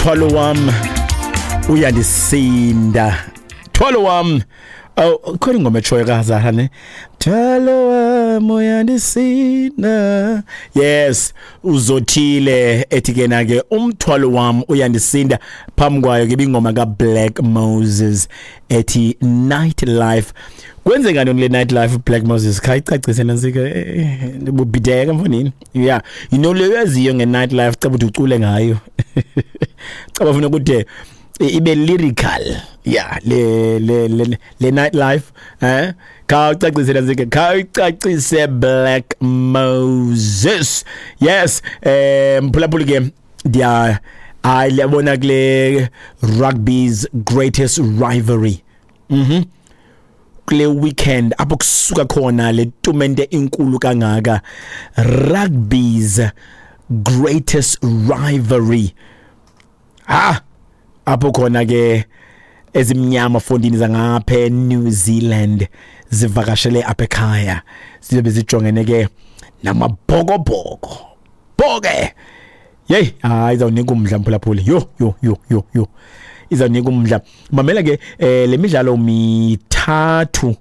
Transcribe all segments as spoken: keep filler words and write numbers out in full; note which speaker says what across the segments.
Speaker 1: Thwalo wam uyandisinda, thwalo wam. Oh, khona ingoma etshoyo kaZahra ne, thwalo wam uyandisinda. Yes, uzothile ethi ke na ke umthwalo wam uyandisinda. Phambi kwayo ke ibingoma kaBlack Moses ethi Night Life. Kwenzeka ntoni le Night Life, Black Moses? Khayicacise nantsika, ndibubhideka mfonini. Yeah, you know le uyaziyo nge-night life, caba uthi ucule ngayo, caba funa ukuthi ibe lyrical. Yeah, le le le, le night life, eh khawucacise nantsika, khawucacise Black Moses. Yes, eh mphulaphuli ke, ndiya hayi liyabona kule rugby's greatest rivalry, mhm kule weekend apho kusuka khona le tumente inkulu kangaka, rugby's greatest rivalry, ha apho khona ke ezimnyama fondini zangapha eNew Zealand zivakashele apha ekhaya, zibe zijongene ke namabhokobhoko boke. Hey, hayi, izawunika umdla mphulaphuli. Yo yo yo yo yo, izawunika umdla. Mamela ke, eh le midlalo mithathu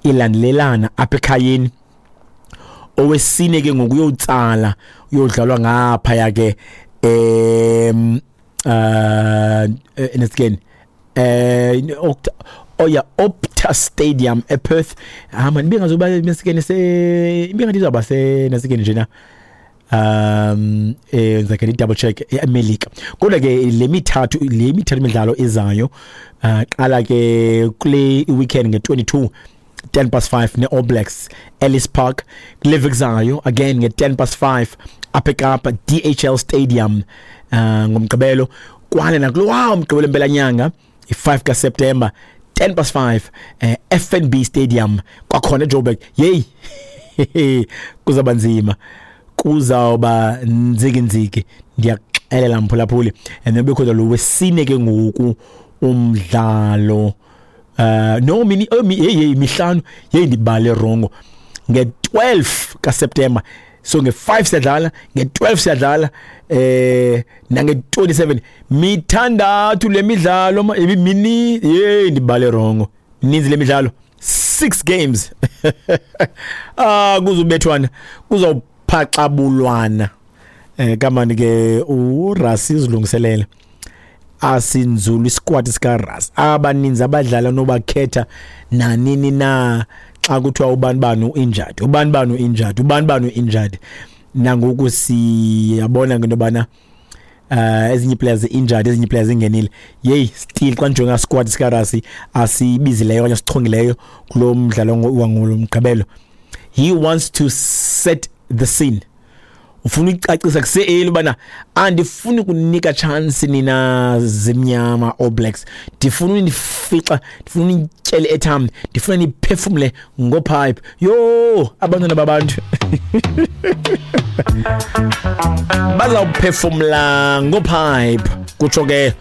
Speaker 1: ilandelelana apha ekhayeni. Owesine ke ngoku uyotsala uyodlalwa ngaphaya ke em uh nesigeni eh oya Optus Stadium ePerth. Ah man, ibingazoba nesigeni se ibingathi izawuba se nesigeni nje na um eh ngizake double check eMelika. Kodwa ke le mithathu le mithathu imidlalo ezayo, uh, qala ke kule weekend nge-twenty-two ten past five ne All Blacks, Ellis Park. Kule veki again nge-ten past five apha eKapa, D H L Stadium, uh, ngomgqibelo. Kwane nakulowa umgqibelo empelanyanga, i-five kaSeptember, ten past five, eh, F N B Stadium kwakhona eJoburg. Yey, kuzaba nzima, kuzawuba nzikinziki, ndiyakuxelela mphulaphuli. And then bekhona lo wesine ke ngoku umdlalo, uh no mini, oh, mi, hey hey mihlanu. Hey, ndibale wrong, nge-twelve kaSeptember. So nge-five siyadlala, nge-twelve siyadlala, eh nange-twenty-seven. Mithandathu le midlalo mini. Hey, ndibale wrong, ninzi le midlalo, six games. Ah, kuzubethwana, kuzawuphaxabulwana. eh kamani ke uRassie uzilungiselele, asinzulu isquad sika Rassie. Abaninzi abadlala nobakhetha nanini na xa kuthiwa ubani bani uinjured, ubani bani uinjured, ubani bani uinjured. Nangoku siyabona ngento bana uh ezinye players injured, ezinye players ingenile. Yey, still xa ndijonga squad sika Rassie asibizileyo okanye sichongileyo kulo mdlalo wangolomgqibelo, he wants to set the scene. Ufuna ukucacisa kuse-early ubana andifuni kunika chance nina zimnyama All Blacks, ndifuna unifixa, ndifuna unityele etham, ndifuna niphefumle ngopipe. Yho, abantwana babantu bazawuphefumla ngopipe, kutsho ke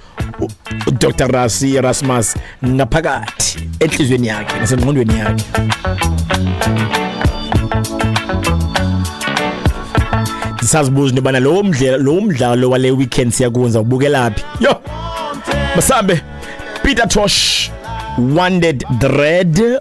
Speaker 1: uDr Rassie Erasmus ngaphakathi entliziyweni yakhe nasengqondweni yakhe. Ndisazibuza into yobana lo mdlalo lo mdlalo wale weekend siyakuwenza ubukela phi. Yho, masambe. Peter Tosh, Wanted Dread.